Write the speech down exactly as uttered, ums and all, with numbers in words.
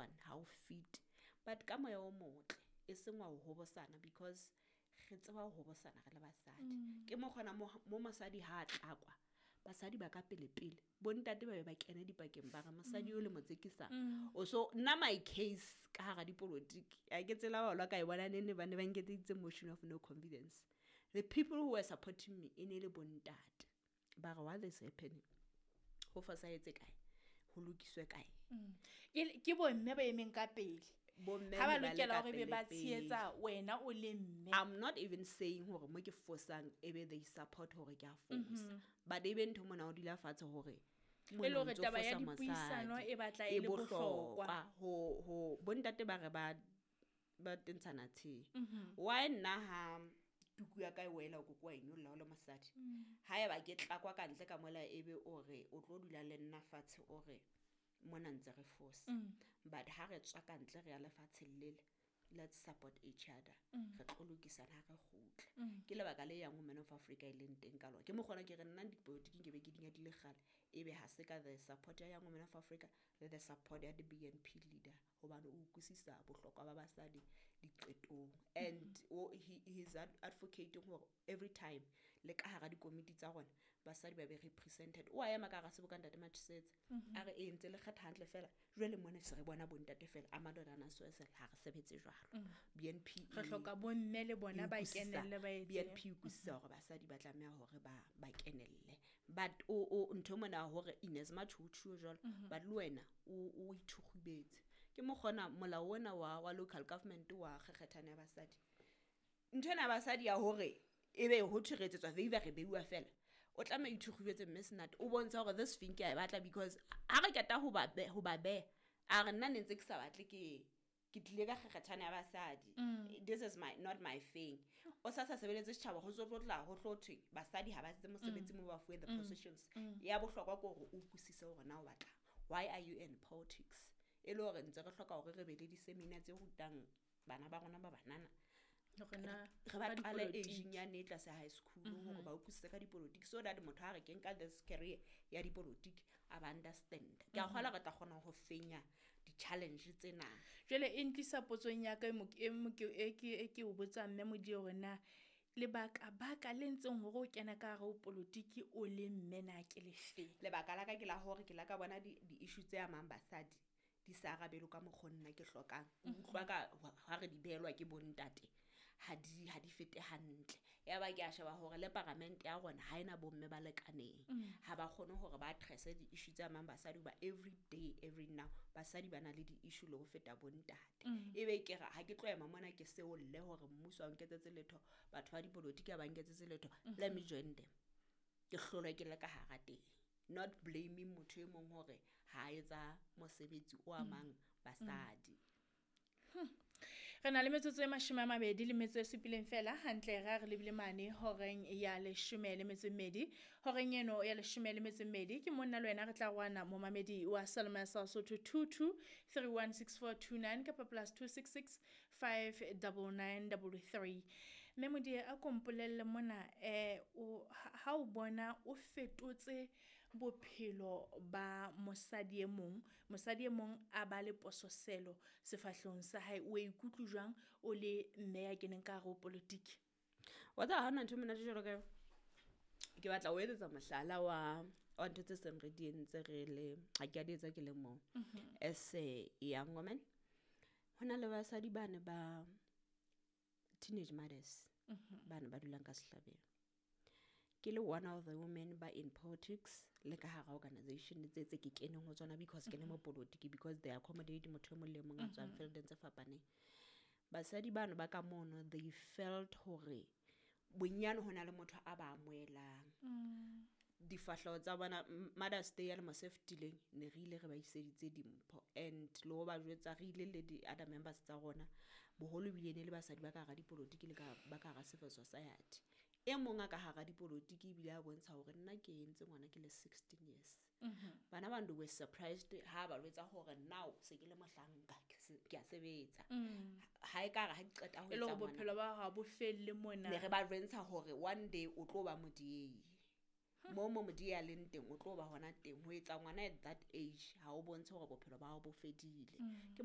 one ha o fit but ka moya o motle e seng wa ho hobosana because re tseba ho hobosana re le basadi ke mo kgona mo mo mosadi ha a tlakwa basadi ba ka pele pele bontate ba be ba kene dipakeng ba re mosadi o le mo tsekisang o so nna my case ka hara dipolotiki a ke tsela ba lwa ka e bona nene ba ne ba nketseditse motion of no confidence the people who were supporting me e ne le bontate ba re what is happening ho fosahetse kae ho lokiswe kae Ke ke bomme ba emeng ka pele Bomme ha ba ne ba le lokela ka hore be ba pele-pele. tshehetsa wena o le mme I'm not even saying hore mo ke fosang ebe they support hore ke a fosa but ebe ntho mona o dula fatshe hore E le mona o hore ntso taba ya fosa dipuisano mosadi. e batla e le bohlokwa. ho ho bontate ba re ba ba tentshana the why nna ha tuku ya ka e wela o koko wa e nyolla o le mosadi ha eba ke tlakwa ka ntle ka mola ebe o re o tlo dula le nna fatshe o re mona ntse re fosa but ha re tswa ka ntle re ya lefatsheng lele let's support each other re tlo lokisana ha re kgutla ke lebaka le yang women of africa e leng teng ka lona ke mokgona ke re nna dipolotiking ke be ke di nyadile kgale ebe ha se ka the support ya young women of africa le the support ya the bnp leader hobane o utlwisisa bohlokwa ba basadi diqetong and o he, he's ad- advocating hore every time le ka hara dikomiti tsa rona basadi ba be represented o a ema ka hara seboka ntate Matshetse a re e ntse le kgetha hantle fela jwale mona se re bona bontate fela a madodana swesel ha re sebetse jwalo bnp re e- hloka bomme le bona ba e utlwisisa- kenelle ba etse BNP e utlwisisa hore basadi ba tlameha hore ba ba kenelle but o o ntho mona hore in as much ho tjhuo jwalo but le wena o o ithukgubetse ke mokgona molao ona wa wa local government wa kgekgethana ya basadi ntho ena ya basadi ya hore ebe ho thwe re etsetswa favour re beuwa fela o tlameha o ithukgubetse mme senate o bontsha hore this thing ke a e batla because ha re qeta ho ba be- ho ba beha a re nna ne ntse ke sa batle ke ke tlile ka kgekgethana ya basadi this is my not my thing o sa sa sebeletse setjhaba ho tlo tla ho tlo thwe basadi ha ba etse mosebetsi mo ba fuwe the positions ya bohlokwa ke hore o utlwisise hore na o batlang why are you in politics e le hore ntse re hloka hore re be le di-seminar tse rutang bana ba rona ba banana hore na re ba ka qale dipolotiki. ageng yane e tlase high school hore ba utlwisise ka dipolotiki so that motho ha re ke nka this career ya dipolotiki a ba understand ke a kgolwa re tla kgona ho fenya di-challenge tsena jwale e ntlisa potsong ya ka e mo- e mo- ke e ke e ke o botsang mme Modie hore na lebaka baka le ntseng hore o kena ka hare ho polotiki o le mme na ke lefeng lebaka la ka ke la hore ke la ka bona di- di-issue tse amang basadi di sa arabelwe ka mokgo nna ke hlokang ke utlwa ka ha re di behelwa ke bontate ha di ha di fete hantle ya ba ke a sheba hore le paramente ya rona ha ena bomme ba lekaneng ha ba kgone hore ba address di-issue tse amang basadi hoba every day every now basadi ba na le di-issue le ho feta bontate ebe ke re ha ke tlo ema mona ke seolle hore mmuso ha o nketsetse letho batho ba dipolotiki ha ba nketsetse letho let me join them ke hlolwe ke le ka hara teng not blaming motho e mong hore ha a etsa mosebetsi o amang basadi re na le metsotso e mashome a mabedi le metso e supileng fela hantle ra re lebile mane horeng ya leshome le metso e mmedi horeng eno ya leshome le metso e mmedi ke monna le wena re tla rwana momamedi wa saloma sa Sotho two two three one six four two nine kapa plus two six six five double nine double three mme Modie a ko mpolelle mona eh o ha o bona o fetotse bophelo ba mosadi e mong mosadi e mong a ba le pososelo sefahlehong sa hae o ikutlwe jwang o le mme ya keneng ka hare ho politiki wa tseba ha hona ntho e monate jwalo ka eo ke batla ho etsetsa mohlala wa wa ntho tse seng re di entse re le ha ke a di etsa ke le mong as a young woman ho na le basadi bane ba teenage mothers bane ba dulang ka sehlabeng ke le one of the women ba in politics le ka hara organization tse tse ke keneng ho tsona because ke le mo politiki because they accommodate motho e mong le e mong a tswang fieldeng tse fapaneng basadi bano ba ka mono they felt hore bonyane ho na le motho a ba amohelang difahleho tsa bona M- mothers day ya lemo se fetileng ne re ile re ba iseditse dimpho and le ho ba jwetsa re ile le di-other members tsa rona boholo ebile ne le basadi ba ka hara dipolotiki le ka ba ka hara civil society e mong a ka hara dipolotiki ebile a bontsha hore nna ke entse ngwana ke le sixteen years bana ba they were surprised ha ba jwetsa hore now se ke le mohlanka ke se- ke a sebetsa ha e ka re ha ke qeta ho e le etsa hore ngwana bophelo ba hao ha bo felle mona ne re ba jwentsha hore one day o tlo ba modiei mo mo modiei a leng teng o tlo ba hona teng ho etsa ngwana at that age ha o bontshe hore bophelo ba hao bo fedile ke